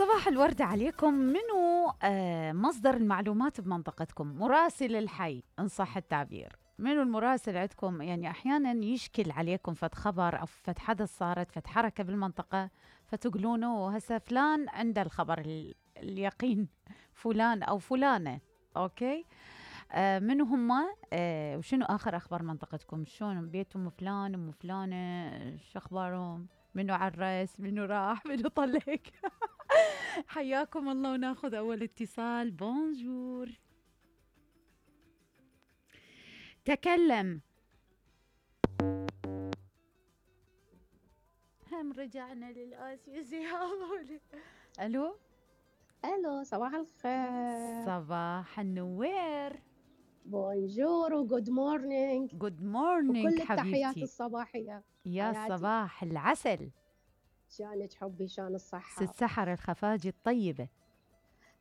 صباح الورد عليكم. منو مصدر المعلومات بمنطقتكم؟ مراسل الحي إن صح التعبير. منو المراسل عندكم؟ يعني أحيانا يشكل عليكم فد خبر أو فد حدث صارت فد حركة بالمنطقة فتقولونه هسا فلان عنده الخبر اليقين، فلان أو فلانة. أوكي، منو هما؟ وشنو آخر أخبار منطقتكم؟ شلون بيتهم فلان أم فلانة؟ شو أخبارهم؟ منو عرس؟ منو راح؟ منو طلق؟ حياكم الله. وناخذ أول اتصال. بونجور، تكلم. هم رجعنا للآسيسي. ألو الو، صباح الخير. صباح النوير. بونجور وجود مورنينج. جود مورنينج وكل التحيات حبيبتي. الصباحية. يا حياتي. صباح العسل. شانك حبي، شان الصحة. ست سحر الخفاجي الطيبة.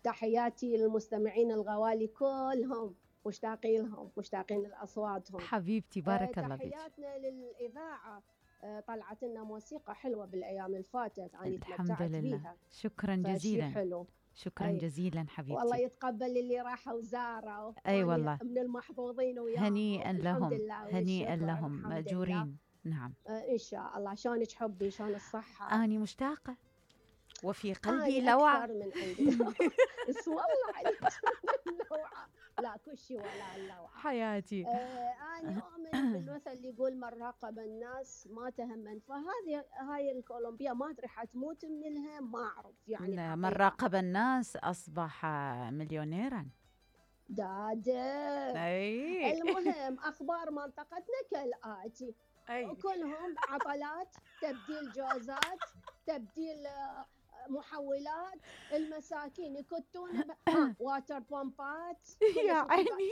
تحياتي للمستمعين الغوالي كلهم، مشتاقين لهم، مشتاقين لأصواتهم حبيبتي بارك الله فيك. تحياتنا للإذاعة. طلعت لنا موسيقى حلوة بالأيام اللي فاتت، أنا الحمد تمتعت لله بيها. شكرا جزيلا. حلو. شكرا جزيلا حبيبتي. والله يتقبل اللي راحوا وزاروا. أي والله، من المحظوظين وياهم. هنيئا لهم، هنيئا لهم مأجورين. نعم إن شاء الله. شلونك حبي؟ شلون الصحة؟ أني مشتاقة وفي قلبي لوعة. أكثر من عندي. بس والله عليك اللوعة. لا كل شيء ولا اللوعة حياتي. أنا أؤمن بالمثل اللي يقول من راقب الناس ما تهم. هاي الكولومبيا ما أدري حتموت من الهم، ما أعرف يعني. من راقب الناس أصبح مليونيرا. أي. المهم أخبار منطقتنا كالآتي. كلهم عطلات، تبديل جوازات، تبديل محولات. المساكين يكتون واتر بامبات. يا عيني.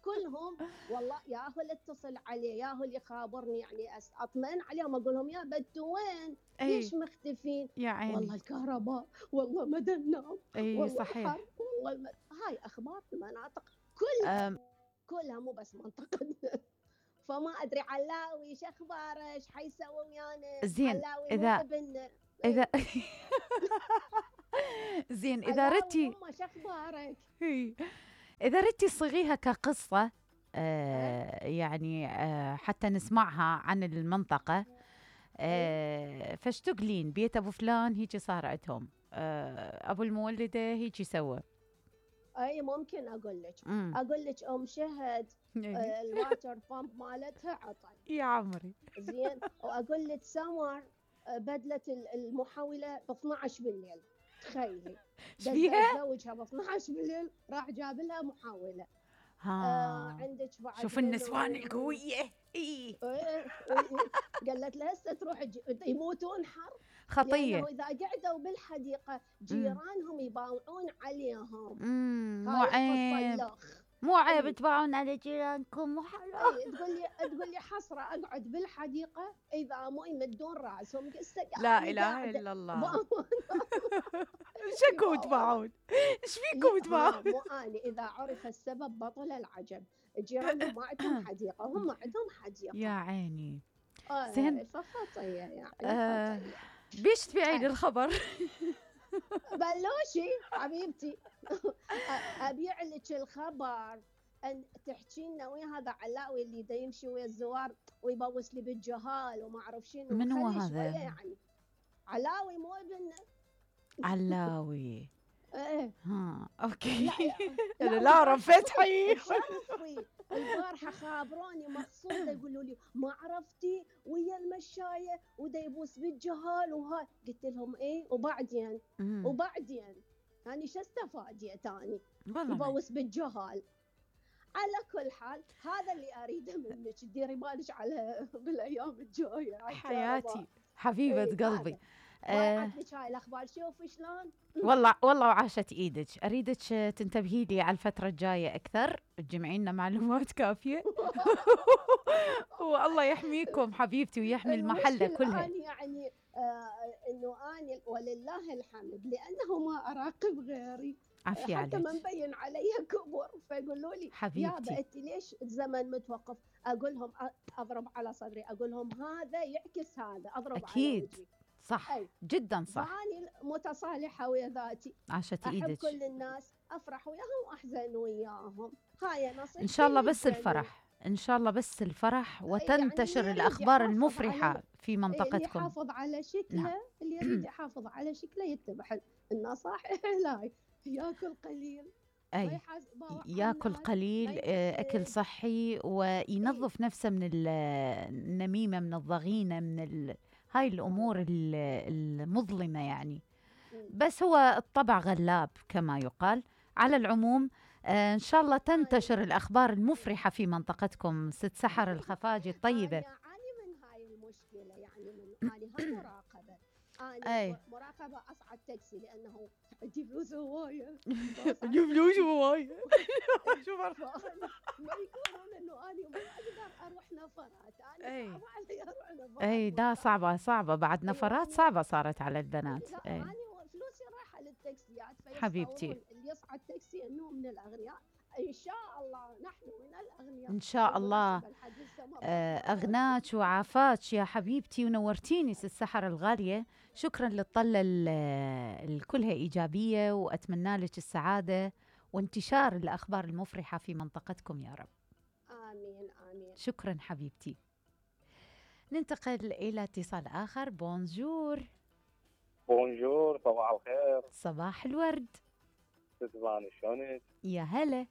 كلهم والله. ياهو اللي اتصل عليه، ياهو اللي يخابرني، يعني اطمئن عليهم اقول لهم يا بدو وين؟ ليش مختفين؟ يا عيني. والله الكهرباء، والله ما ننام، والله صحيح. والله هاي اخبار المناطق كلها مو بس منطقتنا. فما ادري علاوي ايش اخباره؟ ايش حيسوي ويانا؟ زين اذا زين اذا ردتي ايش اخبارك؟ اذا ردتي صيغيها كقصه يعني حتى نسمعها عن المنطقه. فاش تقولين بيت ابو فلان هيجي صار عندهم، ابو المولده هيجي سوى. اي ممكن اقول لك ام شهد الواتر بامب مالتها عطل يا عمري. زين. واقول لك سمر بدلت المحوله ب 12 بالليل. تخيلي زوجها ب 12 بالليل راح جاب لها محوله. عندك بعد شوف النسوان القويه. قالت لها هسه تروح يموتون حر خطيه. لأنه إذا قعدوا بالحديقة جيرانهم يباوعون عليهم. مو عيب تباعون على جيرانكم. مو حرام. تقول لي حسرة أقعد بالحديقة إذا مو يمدون رأسهم. لا إله إلا الله. شكو تباعون؟ إيش فيكم تباعون؟ مو أنا. إذا عرف السبب بطل العجب. جيرانهم ما عندهم حديقة، هم عندهم حديقة. يا عيني. زين. فخطية يعني. بيش تبيعين الخبر؟ بلوشي حبيبتي. أبيع لك الخبر أن تحكي لنا ويا هذا علاوي اللي دا يمشي ويا الزوار ويبوس لي بالجهال وما أعرف شنو. من هو هذا؟ يعني علاوي مو ابننا. علاوي. ايه. اوكي. لا فتحي. البارحة خابروني مخصوص يقولوا لي ما عرفتي ويا المشاية ودا يبوس بالجهال وهاي. قلت لهم ايه وبعدين يعني شو استفاديت اني؟ يبوس بالجهال. على كل حال هذا اللي اريده منك، تديري بالك على بالايام الجايه. حياتي حبيبه قلبي. عطني هاي الاخبار شوفي شلون. والله وعاشت ايدك. اريدك تنتبهي لي على الفتره الجايه اكثر، تجمعي لنا معلومات كافيه. والله يحميكم حبيبتي ويحمي المحله كلها. يعني انه اني ولله الحمد لانه ما اراقب غيري. عافية عليك. حتى ما مبين علي كبر فيقولوا لي حبيبتي يا بنتي ليش الزمن متوقف؟ اقول لهم اضرب على صدري، اقول لهم هذا يعكس هذا، اضرب أكيد. على وجهي. صح. جدا صح. فاني متصالحة ويا ذاتي، عاشت أحب ايدك. كل الناس، أفرح وياهم وأحزن وياهم، هاي ان نصيحتي شاء الله بس للجميع. الفرح، ان شاء الله بس الفرح، يعني اللي وتنتشر يريد الاخبار يحافظ على المفرحة في اللي منطقتكم. يحافظ على نعم. شكله، اللي يريد يحافظ على شكله يتبع النصائح لاي، ياكل قليل، ما اي، يحاسب على ياكل الناس، ما قليل، اكل ينسب. صحي، اي وينظف نفسه من النميمة، من الضغينة، من هاي الامور والله. المظلمة يعني. مم. بس هو الطبع غلاب كما يقال. على العموم، إن شاء الله هاي تنتشر الأخبار المفرحة في منطقتكم، ست سحر الخفاجي الطيبة. أنا من هاي المشكلة، يعني من أنا هم مراقبة، أنا أي مراقبة أصعد تاكسي لأنه أجيب فلوس هواية. جيب فلوس هواية. شو ما يقولون إنه أنا ما أقدر أروح نفرات، أنا أي صعب علي أروح نفرات أي، دا صعبة بعد، نفرات يعني صعبة صارت على البنات. لا، أي أنا فلوسي رايحة للتاكسيات، حبيبتي، فيتصورون اللي يصعد تاكسي إنه من الأغنياء. إن شاء الله نحن من الأغنياء. إن شاء الله. بالمناسبة الحديث استمر. أغناك وعافاك يا حبيبتي، ونورتيني ست سحر الغالية. شكرا للطلة كلها إيجابية، وأتمنى لك السعادة وانتشار الأخبار المفرحة في منطقتكم يا رب. آمين آمين. شكرا حبيبتي. ننتقل إلى اتصال آخر. بونجور. بونجور، صباح الخير. صباح الورد. تسمعني شلونك؟ يا هلا.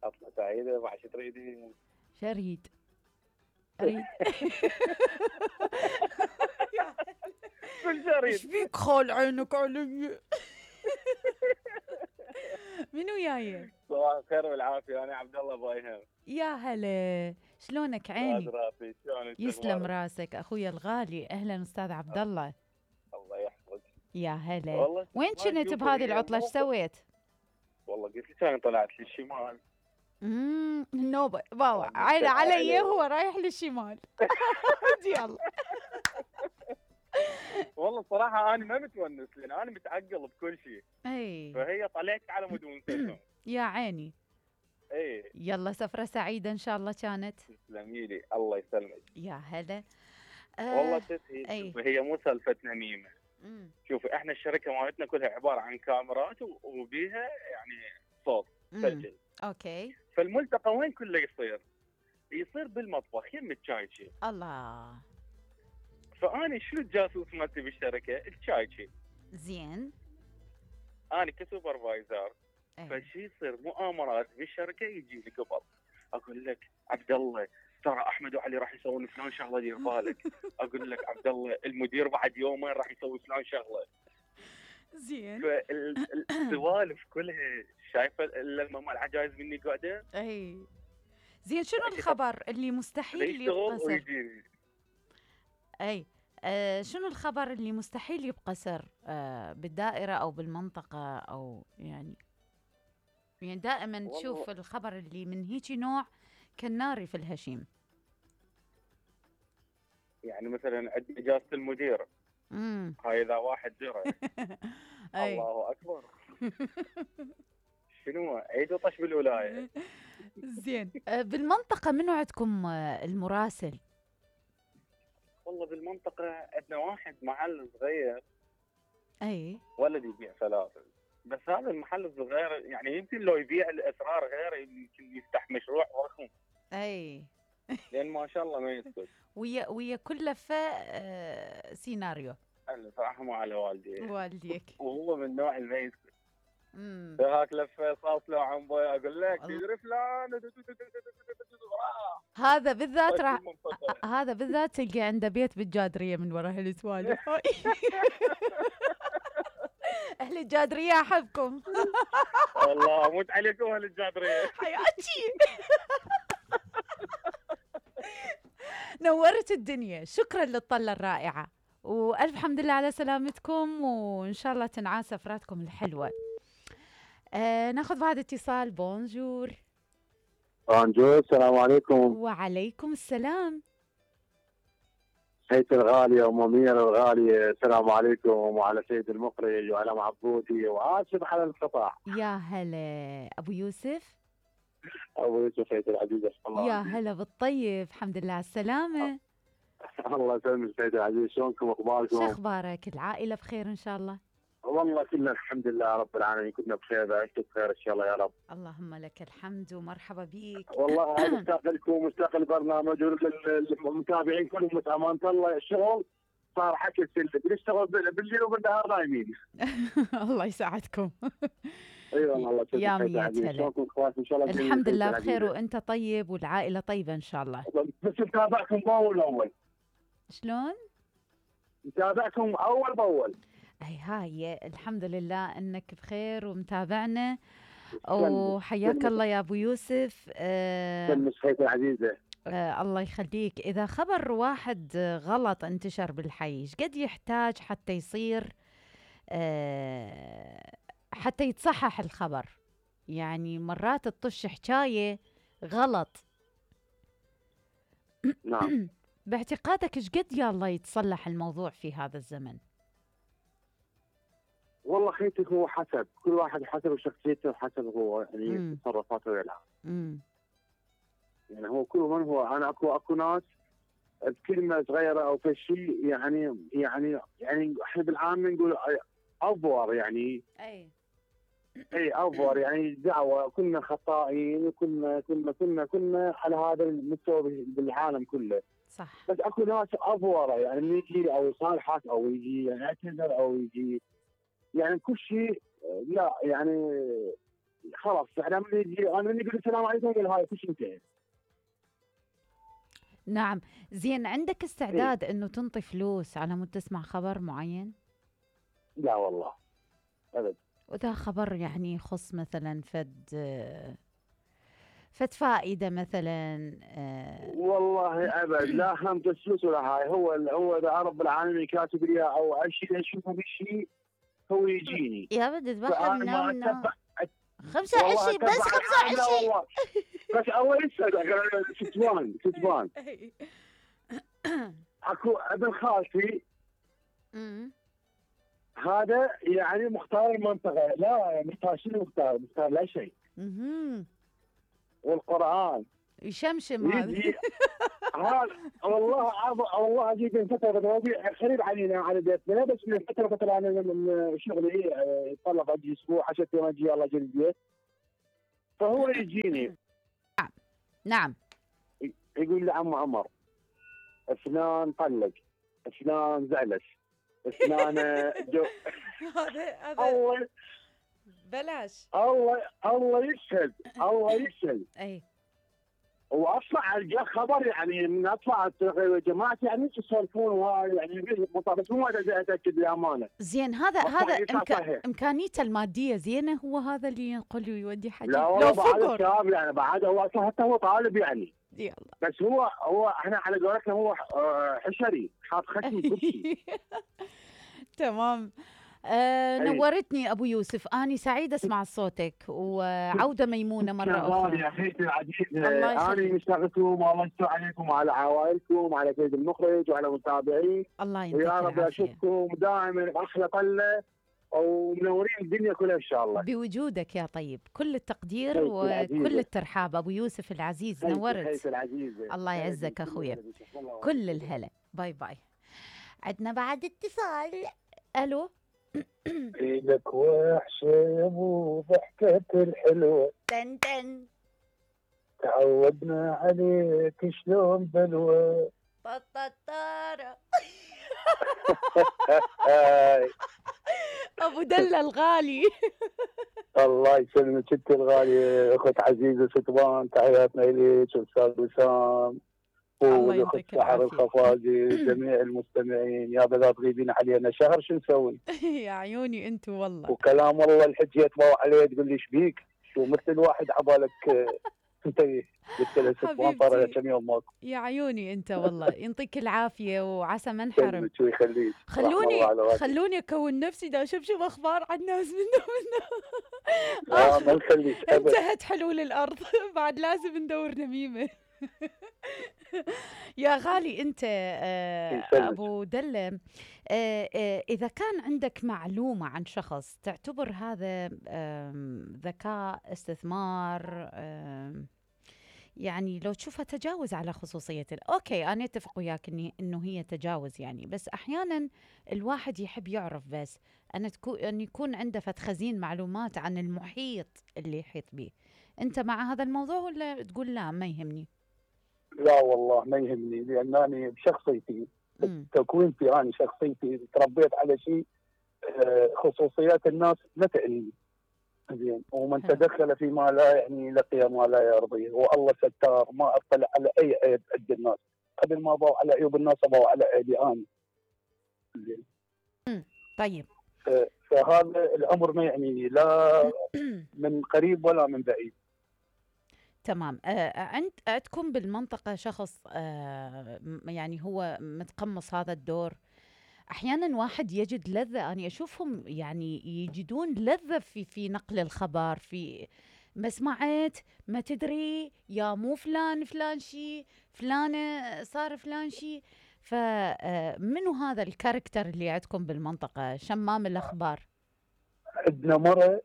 عطلة سعيدة، وحش تريدين؟ شريد أريد. كل شريد. ايش بيك خال عينك علي؟ منو جاي؟ صباح الخير والعافية، أنا عبد الله بايهم. يا هلا، شلونك عيني؟ راسي، شلونك؟ يسلم راسك اخويا الغالي. اهلا استاذ عبد الله. الله يحفظك. يا هلا. والله وين كنت بهذه العطله؟ ايش سويت؟ والله قلت لك أنا طلعت للشمال. النوبه باوع عينه علي، هو رايح للشمال. يلا. والله صراحة أنا ما متونس، لأن أنا متعقل بكل شيء. اي فهي طلعت على مود ونستهم. يا عيني. اي يلا، سفرة سعيدة ان شاء الله كانت. تسلمي لي، الله يسلمك. يا هلا. والله تسهيل. هي مو سالفة نميمة. شوفي، احنا الشركة مالتنا كلها عبارة عن كاميرات وبيها يعني صوت سجل. اوكي. فالملتقى وين كله يصير بالمطبخ يم الشايشي. الله. فأنا شنو الجاسوس مالتي بالشركة؟ الشايشي. زين. أنا كسوبرفايزر. فشي يصير مؤامرات بالشركة، يجي لي قبل أقول لك عبد الله ترى أحمد وعلي راح يسوون فلان شغلة، دير بالك. أقول لك عبد الله المدير بعد يومين راح يسوي فلان شغلة. زين. فالسوالف كلها شايفة لما مال عجايز مني قاعدة. اي زين. شنو الخبر اللي مستحيل يبقى سر؟ اي شنو الخبر اللي مستحيل يبقى سر بالدائرة او بالمنطقة، او يعني دائما تشوف الخبر اللي من هيك نوع كالنار في الهشيم. يعني مثلا عندي اجازة المدير. هاي اذا واحد درى. الله اكبر. شنو عيد وطش بالولاية. زين. بالمنطقة منو عندكم المراسل؟ والله بالمنطقة عندنا واحد محل صغير. اي ولد يبيع فلافل، بس هذا المحل الصغير يعني يمكن لو يبيع الاسرار غير يمكن يفتح مشروع ضخم. اي لان ما شاء الله ما يسكت. ويا كل لفه سيناريو. انا صراحه مو على والديك. وهو من نوع اللي ما يسكت. هاك لفه صوت له عن بوي اقول لك تدري فلان. هذا بالذات تلقى عنده بيت بالجادريه من وراء هالسوالف. اهل الجادريه احبكم. والله اموت عليكم اهل الجادريه. حياتي. نورت الدنيا. شكرا للطلة الرائعة، والف حمد لله على سلامتكم، وان شاء الله تنعاد سفراتكم الحلوة. ناخذ بعد اتصال. بونجور. بونجور، السلام عليكم. وعليكم السلام. سيد الغالية ومنيرة الغالية، السلام عليكم، وعلى سيد المخرج وعلى معبودي وآسف على الانقطاع. يا هلا أبو يوسف. أبو يوسف سيد العزيز. يا هلا بالطيب، الحمد لله على السلامة. الله يسلمك سيد العزيز، شلونكم أخباركم؟ شو أخبارك؟ العائلة بخير إن شاء الله؟ والله كلنا الحمد لله رب العالمين، كلنا بخير، انتم بخير ان شاء الله يا رب. اللهم لك الحمد ومرحبا بيك. والله مشتاق لكم ومشتاق البرنامج والمتابعين كلهم، امانه الله الشغل صار حكي سلبي، بنشتغل بالليل وبالنهار نايمين. الله يساعدكم. اي والله يا ميت هلا. ان شاء الله الحمد لله بخير وانت طيب والعائله طيبه ان شاء الله. بس نتابعكم باول باول. شلون؟ نتابعكم اول باول. هاي الحمد لله انك بخير ومتابعنا، وحياك الله يا ابو يوسف. سلمك العزيزه. الله يخليك. اذا خبر واحد غلط انتشر بالحي، ايش قد يحتاج حتى يصير حتى يتصحح الخبر؟ يعني مرات تطش حكايه غلط. نعم. باعتقادك ايش قد يا الله يتصلح الموضوع في هذا الزمن؟ والله خيتك هو حسب كل واحد، حسب شخصيته وحسب هو يعني تصرفاته ويلعب. يعني هو كل من هو، انا اكو ناس بكلمه صغيره او في شيء يعني احنا بالعامه نقول افور، يعني اي افور، يعني دعوه كنا خطائين، كنا على هذا المستوى بالعالم كله. صح. بس اكو ناس افوره، يعني من يجي او يصالحك او يجي يعتذر او يجي يعني كل شيء، لا يعني خلاص احنا من يجي انا من يقول السلام عليكم يقول هاي كل شيء انتهى. نعم. زين، عندك استعداد انه تنطي فلوس على مود تسمع خبر معين؟ لا والله ابد. وإذا خبر يعني يخص مثلا فد فائدة مثلا والله ابد، لا هم فلوس ولا هاي، هو اذا رب العالمين كاتب لي او شيء اشوفه بالشيء هو يجيني. يا بدي اذبحها من 25 بس 25. لا والله بس اول كتبان اكو ابن خالتي هذا يعني مختار المنطقه، لا مختار شنو مختار لا شيء. والقران يشمشم هذا. والله اجيب من فتره قريب علينا على بيتنا، بس من فتره انا من شغلي يتطلب اجي اسبوع 10 ايام اجي يلا اجي البيت، فهو يجيني. نعم. يقول لي عمو عمر فلان طلق، فلان زعلش، فلان جو. هذا الله بلاش. الله يشهد. اي واطلع القى خبر، يعني من اطلع جماعتي يعني يسولفون وهاي يعني بس مو اتاكد للامانه. زين، هذا امكانيته الماديه زينه، هو هذا اللي ينقل ويودي حاجه؟ لا والله بعد الشاب يعني بعد هو حتى هو طالب يعني. يلا. بس هو احنا على قولتنا هو حشري حاط خشم كل شيء. تمام. نورتني ابو يوسف، اني سعيده اسمع صوتك، وعوده ميمونه مره اخرى. يا اخيتي العزيز، انا مشتاق لكم، والله يستر عليكم وعلى عوائلكم وعلى سيد المخرج وعلى المتابعين. الله ينتهي. ويا رب اشوفكم دائما باحلى طله ومنورين الدنيا كلها ان شاء الله. بوجودك يا طيب، كل التقدير وكل الترحاب ابو يوسف العزيز، نورت. الله يعزك اخويا، كل الهلا. باي باي. عندنا بعد اتصال. الو. ايدك وحشه وضحكة الحلوه تن تعودنا عليك شلون بلوى طططارة. ابو دلة الغالي. الله يسلمك ست الغاليه، اخت عزيزه ستبان، تحياتنا اليك والاستاذ وسام والاخت سحر الخفاجي، جميع المستمعين. يا بلا تغيبين علينا شهر شو نسوي؟ يا عيوني انت والله. وكلام الله الحجه يتبوع عليه تقول لي ايش بيك؟ شو مثل واحد عبالك انت قلت له ستبان صار له كم يوم ماكو. يا عيوني انت والله، يعطيك العافيه وعسى ما انحرم. شو يخليك. خلوني اكون نفسي دا اشوف اخبار عن الناس منه. ما نخليك. انتهت حلول الارض. بعد لازم ندور نميمه. يا غالي انت ابو دلة، اذا كان عندك معلومة عن شخص تعتبر هذا ذكاء، استثمار، يعني لو تشوفها تجاوز على خصوصية أوكي أنا أتفق وياك إنه هي تجاوز يعني، بس أحيانا الواحد يحب يعرف بس أن يكون عنده خزين معلومات عن المحيط اللي يحيط به. أنت مع هذا الموضوع ولا تقول لا ما يهمني؟ لا والله ما يهمني، لأنني بشخصيتي تكوينتي أنا شخصيتي تربيت على شيء خصوصيات الناس لا تعنيني. زين، ومن تدخل فيما لا يعني لقي ما لا يرضيه، والله ستار ما اطلع على اي عيب عند الناس، قبل ما ابو على عيوب الناس ابو على عيبي انا. زين. طيب. فهذا الامر ما يعنيني لا من قريب ولا من بعيد. تمام. عندكم بالمنطقة شخص يعني هو متقمص هذا الدور؟ أحيانا واحد يجد لذة، أنا أشوفهم يعني يجدون لذة في نقل الخبر، في ما سمعت ما تدري يا مو فلان شي فلانة صار فلان شي. فمنو هذا الكاركتر اللي عندكم بالمنطقة شمام الأخبار؟ عندنا مرة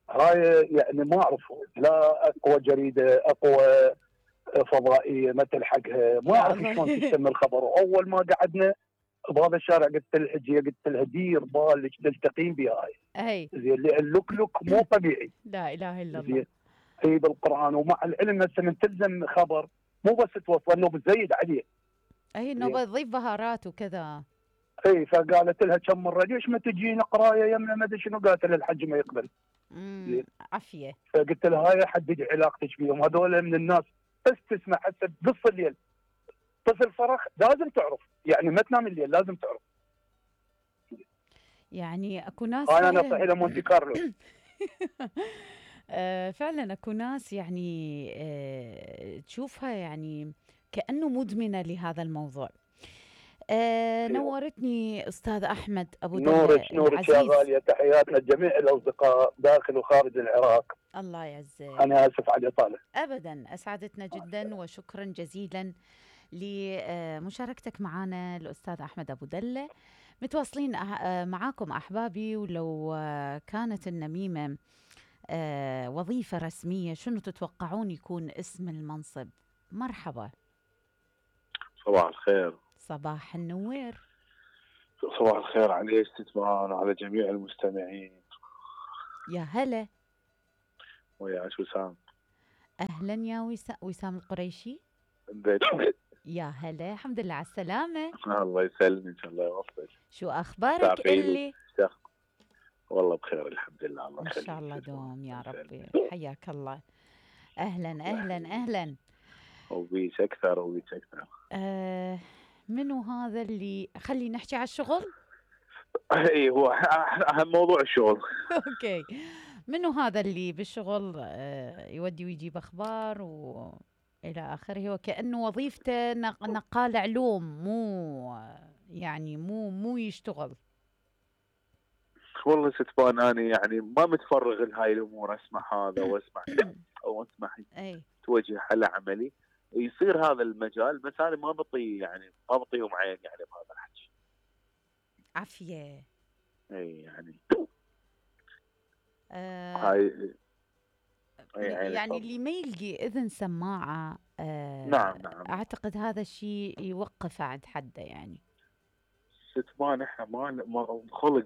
هاي يعني ما أعرفه، لا أقوى جريدة أقوى فضائية ما تلحقها، ما أعرف شلون تشتم الخبر. وأول ما قعدنا بهذا الشارع قلت الحجيه، قلت لها دير بالك تلتقين بهاي. اي زين، اللوك مو طبيعي. لا اله الا الله. في بالقران، ومع العلم هسه من تلزم خبر مو بس توصل انه بتزيد عليه. اي انه بتضيف بهارات وكذا. اي فقالت لها كم مره ليش ما تجينا قرايه يمنا ما ادري شنو، قالت لها الحج ما يقبل. عافيه. فقلت لها هاي حددي علاقتك بيهم، هذول من الناس بس تسمع هسه بنص الليل طفل صرخ لازم تعرف، يعني ما تنام الليل لازم تعرف. يعني اكو ناس انا نصح الى مونتي كارلو. فعلا اكو ناس يعني تشوفها يعني كأنه مدمنة لهذا الموضوع. نورتني أستاذ أحمد أبو دلة. نورك يا غالية، تحياتنا لجميع الأصدقاء داخل وخارج العراق. الله يعزك. أنا آسف على الإطالة. أبدا، أسعدتنا جدا وشكرا جزيلا لمشاركتك معنا الأستاذ أحمد أبو دلة. متواصلين معاكم أحبابي، ولو كانت النميمة وظيفة رسمية شنو تتوقعون يكون اسم المنصب؟ مرحبا. صباح الخير. صباح النوير. صباح الخير عليك ستمان وعلى جميع المستمعين. يا هلا. وياك وسام. أهلا يا وسام القريشي. يا هلا، الحمد لله على السلامة. الله يسلمك، الله يوفقك. شو أخبارك اللي؟ والله بخير الحمد لله. الله إن شاء الله دوم يا ربي. حياك الله. أهلا أهلا أهلا. وبيك أكثر وبيك أكثر. منو هذا اللي خلي نحكي على الشغل؟ اي هو أهم موضوع الشغل. أوكي. منو هذا اللي بالشغل يودي ويجيب أخبار إلى آخره، وكأنه وظيفته نقال علوم، مو يشتغل. والله ستبان أنا يعني ما متفرغ لهاي الأمور، أسمع هذا وأسمع أو أسمع توجه على عملي يصير هذا المجال، بس أنا ما بطيهم عين يعني بهذا الحكي. عافية. أي يعني هاي يعني اللي ما يلقي إذن سماعة نعم أعتقد هذا الشيء يوقف عند حده يعني. ستمان احنا ما خلق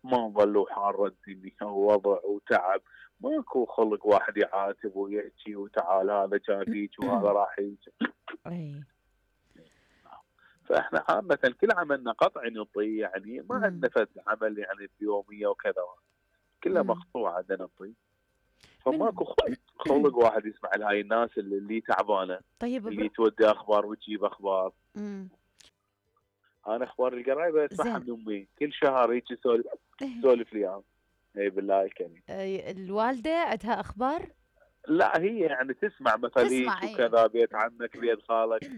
ما نظلوا حار الدنيا ووضع وتعب، ماكو خلق واحد يعاتب ويحكي وتعال هذا جاب هيك وهذا راح هيك. اي فاحنا عامة كل عملنا قطعي نطي، يعني ما عندنا فد عمل يعني بيومية وكذا، كلها مقطوعة عندنا نطي. فماكو خلق واحد يسمع لهاي الناس اللي تعبانة. طيب اللي تودي اخبار وتجيب اخبار. انا اخبار القرايبه اسمعها من امي كل شهر هيك تسولف لي عنها. اي بالله الكريم. الوالده عندها اخبار؟ لا هي يعني تسمع مثلا هيك وكذا، بيت عمك بيت خالك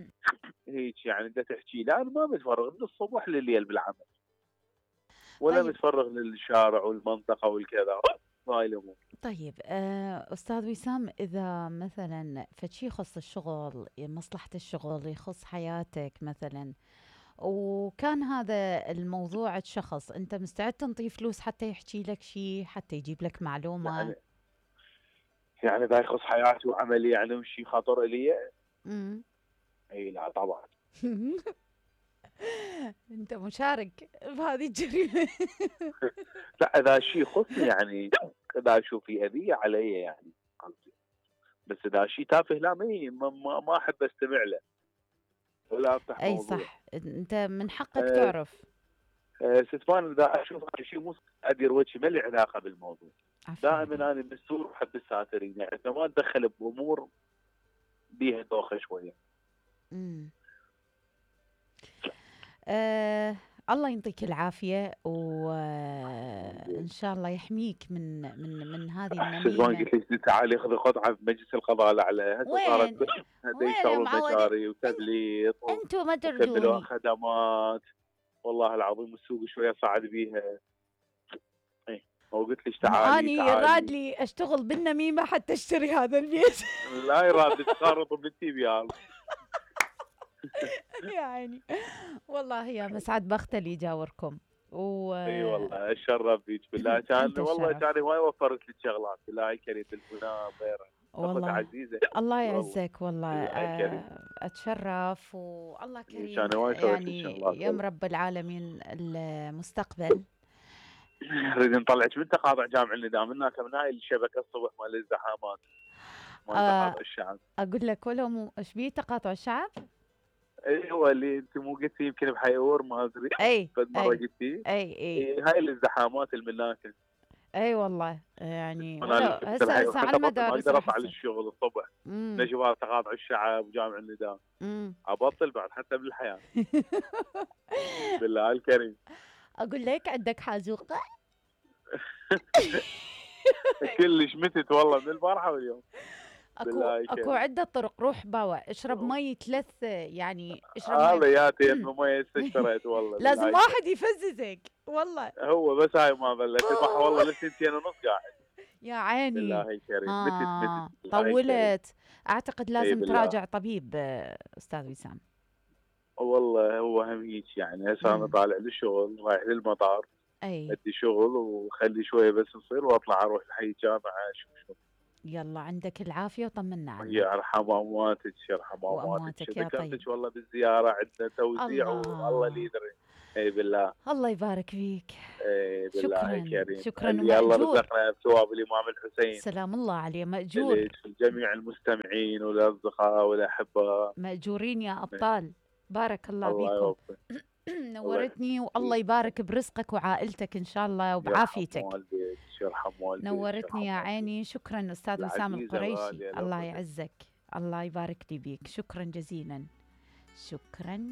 هيك يعني انت تحكي. لا انا ما متفرغ من الصبح لليل بالعمل، ولا طيب. متفرغ للشارع والمنطقه والكذا هاي الامور. طيب استاذ وسام، اذا مثلا فشي يخص الشغل، مصلحه الشغل، يخص حياتك مثلا، وكان هذا الموضوع شخص، انت مستعد تنطيه فلوس حتى يحكي لك شيء، حتى يجيب لك معلومه؟ يعني اذا يخص حياتي وعملي يعني وشي خطر الي. اي لا طبعا. انت مشارك بهذه الجريمه. لا اذا شيء يخصني يعني، اذا اشوف في اذيه علي يعني قصدي. بس اذا شيء تافه لا ما احب استمع له ولا افتح اي موضوع. صح، انت من حقك تعرف. ستفان اذا اشوف شيء مو ادير وجهي ما لي علاقه بالموضوع. دائما انا مستور وحب الساترين، يعني ما اتدخل بامور بيها دوخه شويه. الله يعطيك العافيه، وان شاء الله يحميك من هذه النميمه. قلت لك تعالي خذي قطعه في مجلس القضاء الاعلى. وين يشتغلون مشاري وتبليط انتم ما تردوني تردوني خدمات والله العظيم، السوق شويه صعد بيها. وقلت لك تعالي اني يراد لي اشتغل بالنميمه حتى اشتري هذا البيت. لا يراد تقارض بنتي بيال. يعني والله يا مسعد بخت اللي يجاوركم. اي والله اتشرف فيك بالله. كان والله كان هواي وفرت لك شغلات بالله كريم تلفونات غيره والله عزيزه. الله يعزك والله. اتشرف والله كريم يعني يا رب العالمين. المستقبل نريد نطلعك من تقاطع جامع النداء منك من هاي الشبكه الصبح مال الزحامات مال تقاطع الشعب. اقول لك ولا مو ايش بيه تقاطع الشعب؟ اي هو اللي انت مو قلتي يمكن بحيور ما ادري. اي فد مره قلتي اي هاي الازدحامات المناكل. اي والله يعني هسه على المدارس اقدر اطلع للشغل الصبح نجوى تقاطع الشعب وجامع النداء ابطل بعد حتى بالحياه. بالله الكريم اقول لك عندك حازوقه. كلش متت والله من البارحه واليوم. اكو عده طرق. روح باوع اشرب مي 3 يعني اشرب هذا ياتي انه مي استشريت والله. لازم واحد يفززك والله. هو بس هاي ما بلش البحر والله لسنتين ونص قاعد. يا عيني بالله الكريم. متت طولت. اعتقد لازم تراجع طبيب استاذ وسام. والله هو هم هيك يعني. هسه انا طالع للشغل رايح للمطار ادي شغل وخلي شويه بس نصير واطلع اروح لحي الجامعه اشوف. يلا عندك العافيه وطمنا عنك. يرحم امواتك يرحم امواتك. يا طيب والله بالزياره عندنا توزيع والله اللي يدري. اي بالله الله يبارك فيك. اي بالله الكريم. شكرا الله رزقنا بثواب الامام الحسين. سلام الله عليه. ماجور. جميع المستمعين والاصدقاء والاحباء ماجورين يا ابطال. بارك الله فيكم. نورتني والله يبارك برزقك وعائلتك ان شاء الله وبعافيتك. يرحم والديك. نورتني يا عيني. شكرا استاذ وسام القريشي. الله يعزك. الله يبارك لي بيك. شكرا جزيلا. شكرا.